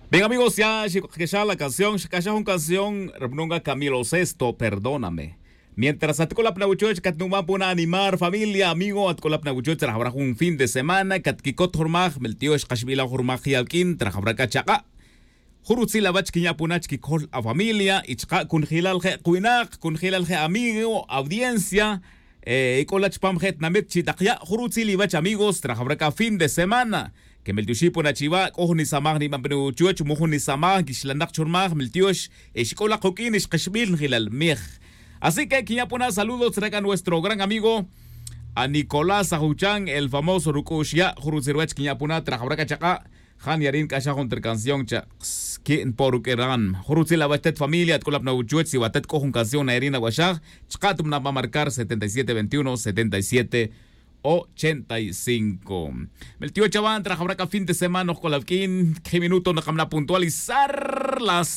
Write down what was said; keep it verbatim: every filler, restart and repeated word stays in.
Bien amigos, ya xik'axaj la canción, xk'axaj jun canción ri mununga camilo sexto, perdóname. Mientras atk'ulap na wuchuch katnuman puna animar familia amigo, atk'ulap na wuchuch rajawra jun fin de semana katkikot jurmaj miltiox kaxb'ila jurmaj yawk'in trajawra k'a chaq'a'. Jun rutzil awach kinya' puna chkikol afamilia y chqa' kunjilal je' qwinaq, kunjilal je' amigo, audiencia, y k'ola chpam je' tinamit chi' taq ya' jun rutzil iwach amigos trajawra k'a fin de semana. Kemel tioxi' puna chiwa' k'o jun nisamaj niban puna wuchuch mu jun nisamaj nkixlanak churmaj mel tiox, y xk'ola quk'in xqixbil njilal mij. Así que kinya' puna saludos tzra k'a nuestro gran amigo a nicolás ajuchan el famoso ruk'u'x ya' jun rutzil ruwach kinya' puna trajawra k'a chaq'a'. Jan yarin k'axaj jun tra canción cha' ki' npo ruk'e ran jun rutzil awach tet familia atk'ulap na wuchuch si watet k'o jun canción na yarin awaxaj. Chqa' tumna' pa marcar setenta y siete veintiuno setenta y siete ochenta y cinco. Mel tioch awan trajawra k'a fin de semana ojk'ol awk'in kji minuto nakamna' puntualizar las